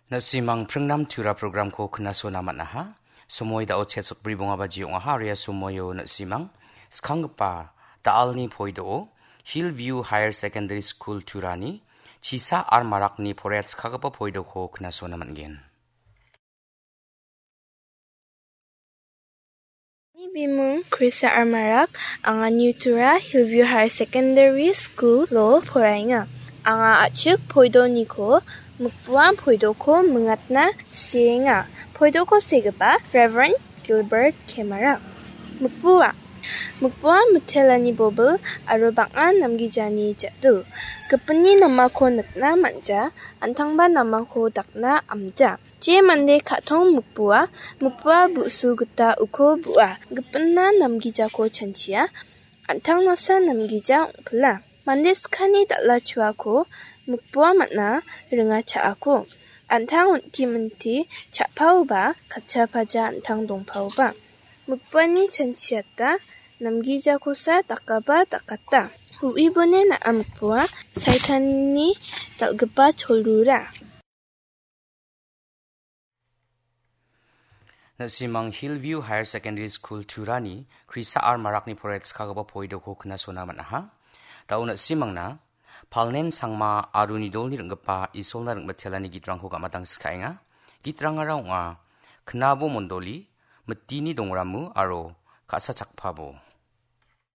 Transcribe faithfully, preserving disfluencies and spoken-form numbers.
Na·simang pringnam tura programko knasona man·aha. Somoi dao chetsotbri bonga baji ong·aha, aro ia somoio na·simang skanggipa da·alni poido Hillview Higher Secondary School turani chisa ar marakni poraiatskagipa poidoko knasona man·gen. Ani bimung Krisa Armarak, anga New Tura Hillview Higher Secondary School-o poraenga. Anga a·chik poidoniko mikpuan poidoko mingatna sienga. Poidoko segipa Reverend Gilbert Kemara. Mikpua. Mikpua mitelani bobil aro bang·a namgijani ja·dil. Gipinni namako nikna man·ja, an·tangba namako dakna am·ja. Je mande ka·tong mikpua, mikpua bu·su gita uko bu·a. Gipinna namgijako chanchia, an·tangnasa namgija ong·pila. Mande skani dal·a chuako mikpua man·a ringa cha·ako. An·tang on·ti minti cha·paoba, katcha paja an·tang dongpaoba. Mikpuani chanchiata namgijakosa dakaba dakata. Uibone na·a mikpua, Saitanni dal·gipa cholrura. Na·simang Hillview Higher Secondary School turani Krisa ar marakni poraiatskagipa poidoko knasona man·aha. Dao na·simangna Palnen Sangma aro Nidolni ring·gipa Isolna ring·bitelani gitrangko gamatang sikaenga. Gitrangara ong·a, Knabo Mondoli, Mitini Dongramu aro Ka·sa Chakpabo.